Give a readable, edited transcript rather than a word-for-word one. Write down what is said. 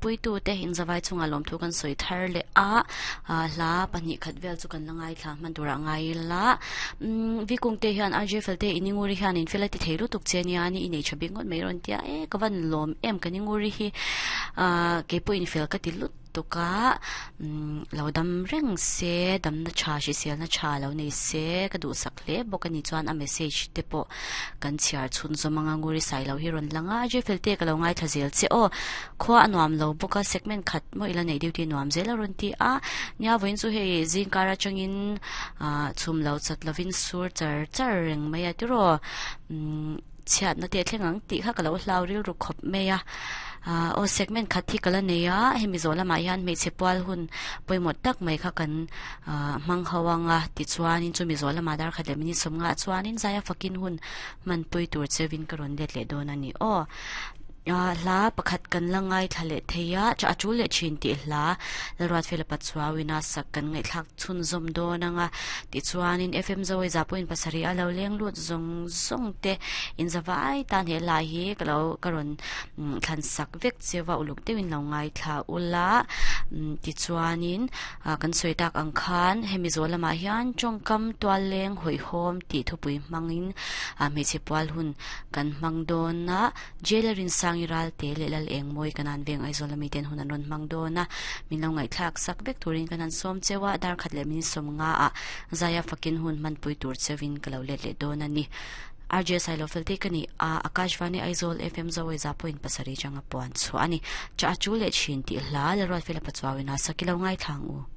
puitute inzavai chungah lawmthu kan sawi thar leh a, hla pahnihkhat vel chu kan la ngaithla hman turah ngai ila. Umm Vikungte hian RJ Felte i Ninguri hian in fel a ti thei lutuk che nia ni i nei tha bik ngawt mai rawn tia e ka van lawm em ka Ninguri hi ah keipawh in fel ka ti lut tuk a umm lo dam reng se damna tha hriselna tha lo nei se ka duhsak hle bawk a ni chuan a message te pawh kan chhiar chhun zawm anga Nguri Sailo hi rawn lang a RJ Felte ka lo ngaithla zel che aw Khua a nuam lo bawk a, segment khat maw ila neih duty nuam zel a rawn ti a. Nia vawiin chu hei zingkar atangin ah chhum lo chat lovin sur char char reng mai a tiraw umm chhiatna te a thleng ang tih kha ka lo hlau rilru khawp mai a. Ah aw segment khat hi ka la nei a, hemi zawh lamah hian hmeichhe pual hun pawimawh tak mai kha kan ah hmang ho ang a tichuanin chumi zawh lamah darkhat leh minute sawmngaah chuanin zaia fakin hun hmanpui tur cheuhin ka rawn let leh dawn a ni aw. Hla pakhat kan la ngaithla leh thei a, a tul leh thin tih hla Lalruatfela Patsuauina sak kan ngaihthlak chhunzawm dawn ang a, tichuanin FM Zoe Zapawhin pasarih a lo leng lut zawng zawng te inzavai tan he hla hi ka lo ka rawn thlan sak vek cheu a, uluk deuhin lo ngaithla ula, tichuanin kan sawi tak ang khan hemi zawh lamah hian tawngkam tual leng hawihhawm tih thupui hmangin hmeichhe pual hun kan hmang dawn a. Jail a Rinsangi Ralte leh Lal Engmawi kan an veng Aizawl a miten hun an rawn hmang dawn a, min lo ngaihthlak sak vek turin kan han sawm cheu a, dar khat leh min sawm nga ah Zaia fakin hun hmanpui tur cheuin ka lo let leh dawn a ni. RJ Sailo fel te ka ni a, Akashvani Aizawl FM Zawai za point pasarih changa puan chhuah a ni. Chah a chu leh thin tih hla Lalruatfela Pachuauin a sak i lo ngaithla ang u.